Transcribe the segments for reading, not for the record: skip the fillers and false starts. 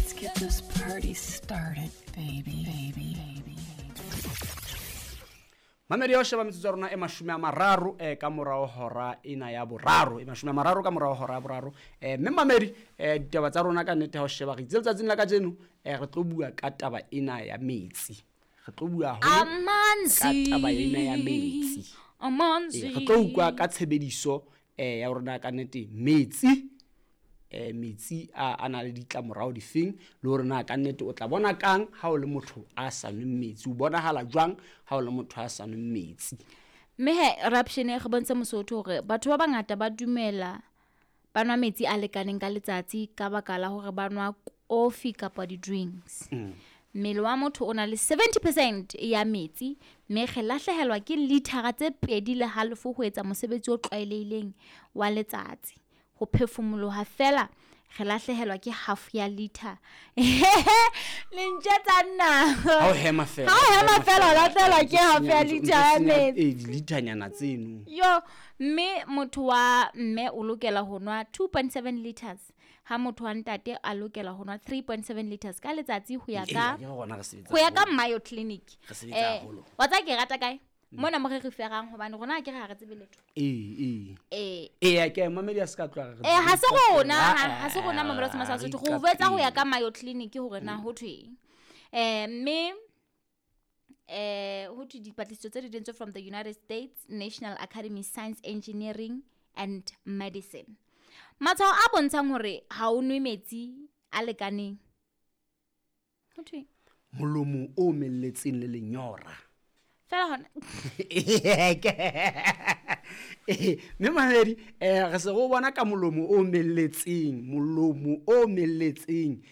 Let's get this party started, baby, baby, baby. Mamedi ya ho sheba metsotso ya rona e 30 ka morao hora ena ya boraro, e 30 ka morao hora ya boraro. Mme mamedi, ditaba tsa rona ka nnete ha o sheba re itse letsatsing la kajeno, re tlo bua ka taba ena ya metsi. Re tlo bua haholo ka taba ena ya metsi. Amanzi. Re tlo utlwa ka tshebediso ya rona ka nnete metsi. Metsi a na le ditlamorao difeng, le hore na ka nnete o tla bona kang ha o le motho a sa nweng metsi, o bonahala jwang ha o le motho a sa nweng metsi. Mme he Rapshane re bontshe Mosotho hore batho ba bangata ba dumela ba nwa metsi a lekaneng ka letsatsi ka baka la hore ba nwa kofi kapa di-drinks. Mmele wa motho o na le 70% ya metsi, mme re lahlehelwa ke lithara tse 2.5 ho etsa mosebetsi o tlwaelehileng wa letsatsi. Ho phefumoloha fela re lahlehelwa ke half ya liter. Le ntjetsa nna. Ha o hema fela. Ha o hema fela o lahlehelwa ke half ya liter ya metsi. Dilitanyana tseno. Yo, mme motho wa mme o lokela ho nwa 2.7 liters, ha motho wa ntate a lokela ho nwa 3.7 liters ka letsatsi ho ya ka Ee, rona re sebetsa ho ya ka haholo. Mayo Clinic. Re sebetsa haholo. Wa tseba ke rata kae? Mona mo re referang hobane rona ke re ha re tsebe letho. Ee. Ee. Ee, ke mamedi a se ka tloha re Ha se re rona, iqapela. ha se rona mamedi a Semasa Re Sotho. Re o jwetsa ho ya iqapela. ka Mayo Clinic hore na ho thweng. Mme ho thwe dipatlisiso tse di entswe from the United States National Academy Science, Engineering and Medicine. Matshwao a bontshang hore ha o nwe metsi a lekaneng. Ho thweng? Molomo o omelletseng le lenyora. Fela hona. Mme mamedi, re se re o bona ka molomo o omelletseng, molomo o omelletseng,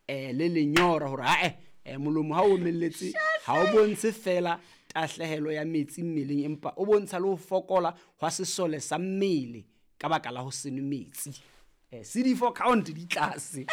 le lenyora hore ha-eh, molomo ha o omelletse, ha o bontshe fela tahlehelo ya metsi mmeleng, empa o bontsha le ho fokola hwa sesole sa mmele ka baka la ho se nwe metsi. CD4 count di tlase.